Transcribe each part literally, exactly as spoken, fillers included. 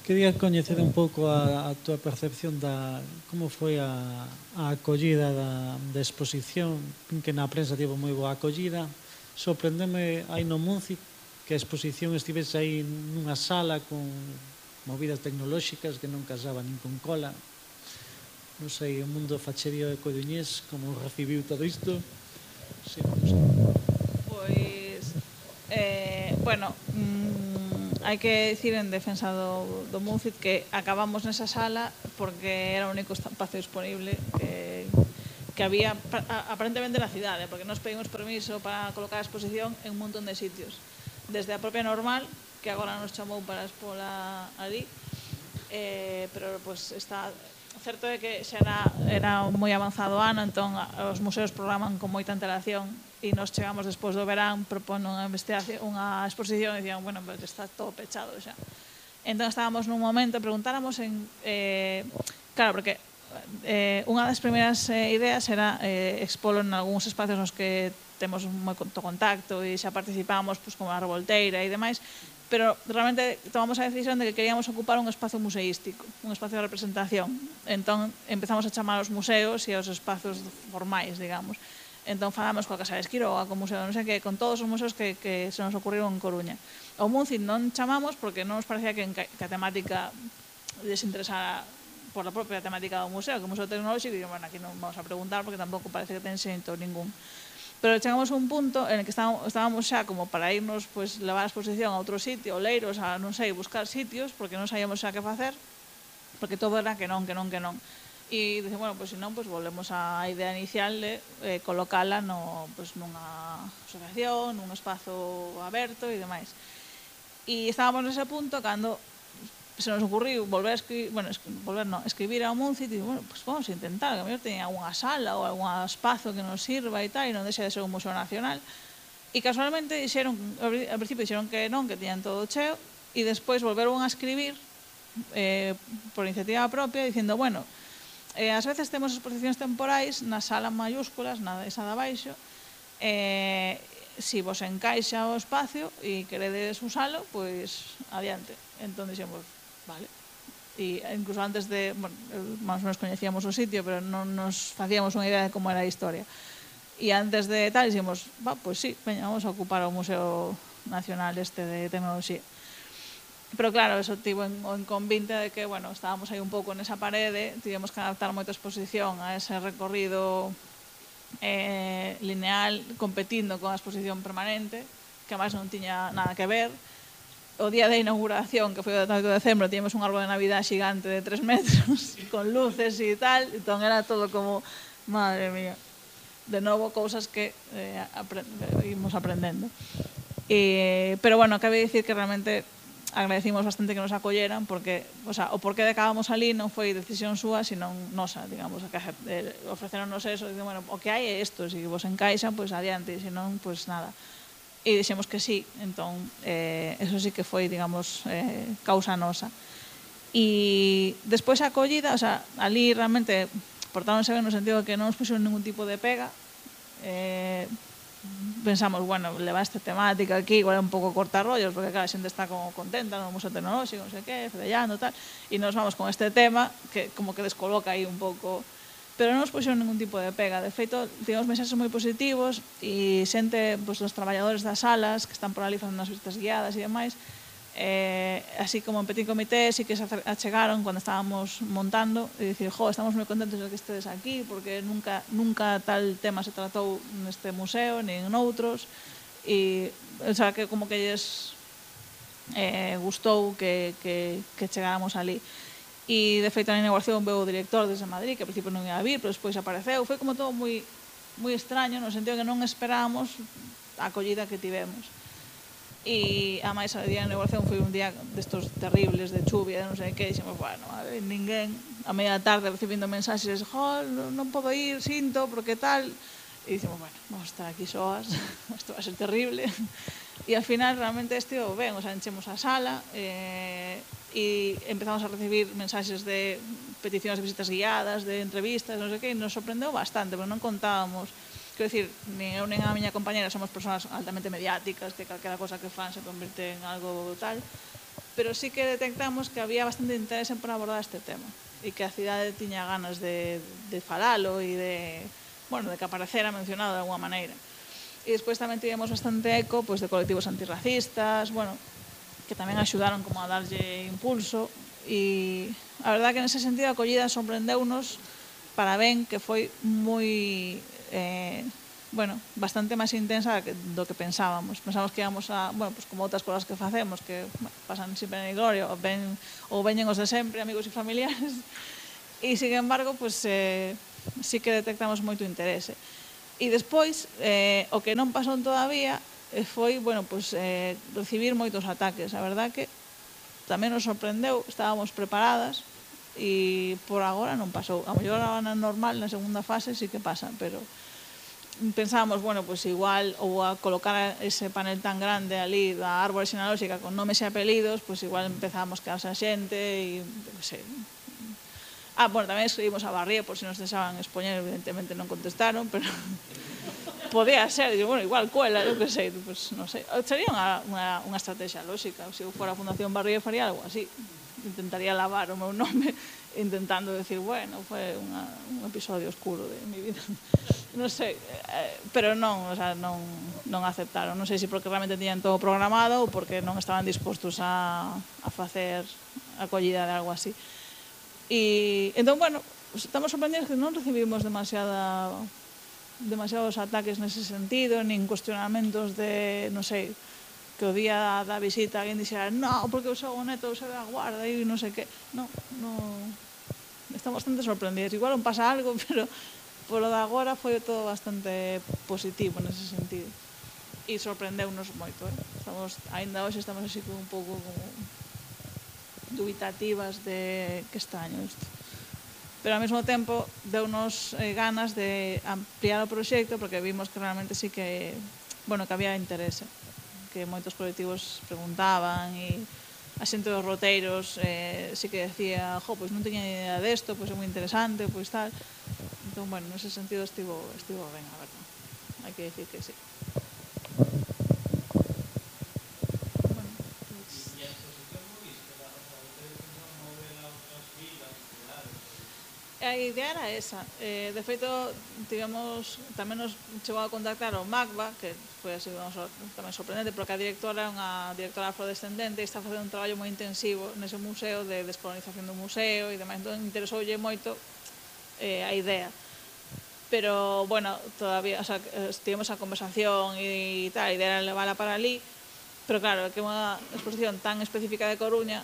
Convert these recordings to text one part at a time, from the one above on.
Quería coñecer un pouco a, a túa percepción da como foi a, a acollida da, da exposición, que na prensa tivo moi boa acollida. Sorprendeme aí no Munci que a exposición estivese aí nunha sala con movidas tecnolóxicas que non casaba nin con cola. Non sei, o mundo facherío e coruñés, como recibiu todo isto? Sí, non sei. Pois, eh, bueno, mmm, hai que dicir en defensa do, do Muncit que acabamos nesa sala porque era o único espacio disponible que, que había aparentemente na cidade, porque nos pedimos permiso para colocar a exposición en un montón de sitios. Desde a propia Normal, que agora nos chamou para expola ali, eh, pero pues, está... certo é que xa era, era moi avanzado ano, entón os museos programan con moita antelación e nos chegamos despois do verán propondo unha investigación, unha exposición e dicían, bueno, pues está todo pechado xa. Entón estábamos nun momento, preguntáramos en... Eh, claro, porque eh, unha das primeiras eh, ideas era eh, expolo en algúns espacios nos que temos moito contacto e xa participamos pues, como a Revolteira e demais, pero realmente tomamos a decisión de que queríamos ocupar un espacio museístico, un espacio de representación. Entón, empezamos a chamar aos museos e aos espacios formais, digamos. Entón, falamos coa Casa de Esquiroga, co museo, non sei que, con todos os museos que, que se nos ocurriron en Coruña. Ao Muncit non chamamos porque non nos parecía que, que a temática les interesara por a propia temática do museo, que o Museo Tecnolóxico, e bueno, aquí non vamos a preguntar porque tampouco parece que ten xento ningún. Pero chegamos a un punto en que estábamos xa como para irnos, pues, levar a exposición a outro sitio, Oleiros, a non sei, buscar sitios, porque non sabíamos xa que facer, porque todo era que non, que non, que non. E dicen, bueno, pues se non, pues volvemos á idea inicial de eh, colocala no, pues, nunha asociación, nun espazo aberto e demais. E estábamos nese punto cando se nos ocurriu volver a escribir, bueno, volver non, escribir ao Muncit e, bueno, pues vamos a intentar, que a mellor teña algunha sala ou algún espazo que nos sirva e tal, e non deixe de ser un museo nacional. E casualmente dixeron, ao principio dixeron que non, que tiñan todo cheo, e despois volveron a escribir eh, por iniciativa propia, dicindo, bueno, eh, ás veces temos exposicións temporais na sala mayúsculas, na esa de abaixo, eh, si vos encaixa o espacio e queredes usalo, pois adiante. Entón dixemos, vale. E incluso antes de, bueno, máis ou menos coñecíamos o sitio, pero non nos facíamos unha idea de como era a historia. E antes de tal, dixemos, va, pois sí, veña, vamos a ocupar o Museo Nacional este de Tecnoloxía. Pero claro, eso tivo en, en convinte de que, bueno, estábamos aí un pouco nesa parede, tivemos que adaptar moita exposición a ese recorrido eh, lineal, competindo con a exposición permanente, que máis non tiña nada que ver. O día de inauguración, que foi o oito de decembro, tiñamos un árbol de Navidad xigante de tres metros, con luces e tal, entón era todo como, madre mía, de novo, cousas que eh, aprend imos aprendendo. E, pero bueno, cabe dicir que realmente agradecimos bastante que nos acolleran, porque, o sea, o porqué de que acabamos ali non foi decisión súa, senón nosa, digamos, que eh, ofreceronnos eso, e dicen, bueno, o que hai é isto, se vos encaixan, pois adiante, e senón, pois nada. E dixemos que sí, entón, eh, eso sí que foi, digamos, eh, causa nosa. E despois a acollida, o sea, ali realmente portáronse ben no sentido de que non nos puxeron ningún tipo de pega. Eh, pensamos, bueno, levar esta temática aquí igual é un pouco cortarrollos, porque claro, a xente está como contenta no Museo Tecnolóxico, non sei que, fedellando, tal, e nos vamos con este tema que como que descoloca aí un pouco. Pero non nos puxeron ningún tipo de pega. De feito, tivemos mensaxes moi positivos e xente, pues, os traballadores das salas que están por ali facendo as visitas guiadas e demais, eh, así como en petit comité, sí que se achegaron cando estábamos montando e dicir, jo, estamos moi contentos de que estedes aquí porque nunca, nunca tal tema se tratou neste museo, nin noutros, e, o sea, que como que lles eh, gustou que, que, que chegáramos ali. E de feito na inauguración veu o director desde Madrid, que ao principio non ia a vir, pero despois apareceu. Foi como todo moi, moi extraño, no sentido que non esperábamos a acollida que tivemos. E a máis a día da inauguración foi un día destos terribles de chuvia, non sei que, e dixemos, bueno, a ver, ninguén, a media tarde recibindo mensaxes, jo, non podo ir, sinto, porque tal, e dicimos, bueno, vamos a estar aquí soas, isto vai ser terrible. E ao final realmente estivo ben, o sea, enchemos a sala, eh, e empezamos a recibir mensaxes de peticións de visitas guiadas, de entrevistas, non sei que, e nos sorprendeu bastante, porque non contábamos, quero dicir, nin eu nin a miña compañera somos persoas altamente mediáticas, que calquera cosa que fan se convirte en algo tal, pero sí que detectamos que había bastante interés por abordar este tema e que a cidade tiña ganas de, de falalo e de, bueno, de que aparecera mencionado de alguma maneira. E despois tamén tivemos bastante eco pois, de colectivos antirracistas, bueno, que tamén axudaron como a darlle impulso, e a verdad que nese sentido a acollida sorprendeunos para ben, que foi moi eh, bueno, bastante máis intensa do que pensábamos. Pensábamos que íbamos a, bueno, pues como outras cosas que facemos, que bueno, pasan sempre en gloria, ou, ven, ou veñen os de sempre, amigos e familiares, e, sin embargo, pues, eh, sí que detectamos moito interese. E despois, eh, o que non pasou todavía foi, bueno, pues, eh, recibir moitos ataques. A verdad que tamén nos sorprendeu, estábamos preparadas e por agora non pasou. A mellor agora na normal, na segunda fase, sí que pasa, pero pensábamos, bueno, pues igual ou a colocar ese panel tan grande ali da árbore xenealóxica con nomes e apelidos, pues igual empezábamos a quedarse a xente e, non sei. Ah, bueno, tamén escribimos a Barría por se nos deixaban expoñer, evidentemente non contestaron, pero podía ser, digo, bueno, igual cuela, eu que sei, pues non sei. Sería unha, unha, unha estrategia lógica, se eu fora a Fundación Barría faría algo así. Intentaría lavar o meu nome intentando decir, bueno, foi unha, un episodio oscuro de mi vida. Non sei, eh, pero non, o sea, non, non aceptaron. Non sei se porque realmente tiñan todo programado ou porque non estaban dispostos a, a facer acollida de algo así. E, entón, bueno, estamos sorprendidos que non recibimos demasiada demasiados ataques nese sentido, nin cuestionamentos de, non sei, que o día da visita alguén dixera no, porque o seu neto se ve a guarda e non sei que. Non, non, estamos bastante sorprendidos. Igual non pasa algo, pero polo de agora foi todo bastante positivo nese sentido. E sorprendeunos moito, eh? Estamos, ainda hoxe estamos así como un pouco como dubitativas de que extraño isto. Pero ao mesmo tempo deunos eh, ganas de ampliar o proxecto porque vimos que realmente sí que, bueno, que había interese, que moitos colectivos preguntaban e a xente dos roteiros eh, sí que decía, jo, pois non teña idea desto, pois é moi interesante, pois tal. Entón, bueno, nese sentido estivo, estivo ben, a verdad. Hai que decir que sí. A idea era esa. Eh, de feito, tivemos, tamén nos chegou a contactar o MACBA, que foi así tamén sorprendente, porque a directora é unha directora afrodescendente e está facendo un traballo moi intensivo nese museo de descolonización do museo e demais. Entón, interesoulle moito eh, a idea. Pero, bueno, todavía, o sea, tivemos a conversación e tal, a idea era levala para ali, pero claro, que é unha exposición tan específica de Coruña,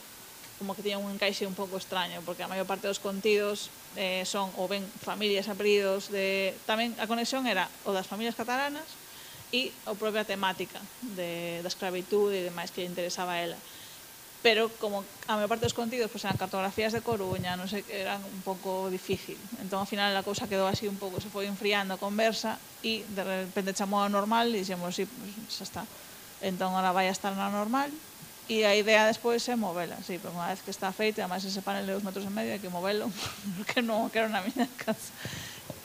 como que tiña un encaixe un pouco extraño, porque a maior parte dos contidos eh, son ou ben familias, apelidos, de... tamén a conexión era o das familias catalanas e a propia temática de, da escravitude e demais que lle interesaba a ela. Pero como a maior parte dos contidos pues, eran cartografías de Coruña, non sei, eran un pouco difícil. Entón, ao final, a cousa quedou así un pouco, se foi enfriando a conversa e de repente chamou a normal e dixemos, sí, pues, xa está. Entón, ahora vai a estar na normal. E a idea despois é movela, sí, pero unha vez que está feito, además ese panel de dos metros e medio hai que movelo, porque non quero na miña casa.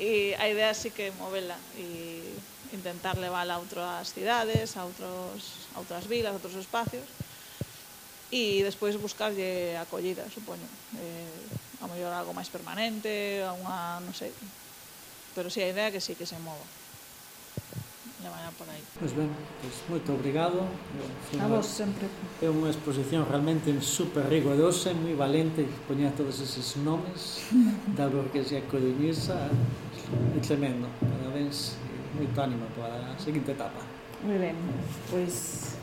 E a idea sí que é movela e intentar levála a outras cidades, a, outros, a outras vilas, a outros espacios, e despois buscarlle acollida, supoño. Eh, a mellor algo máis permanente, a unha, non sei, pero sí, a idea é que sí que se mova. Por aí. Pois ben, pois moito obrigado. A vos sempre. É unha exposición realmente super rigorosa, moi valente, poñer todos eses nomes da burguesía coruñesa, é tremendo. Parabéns, moito ánimo para a seguinte etapa. Moi ben, pois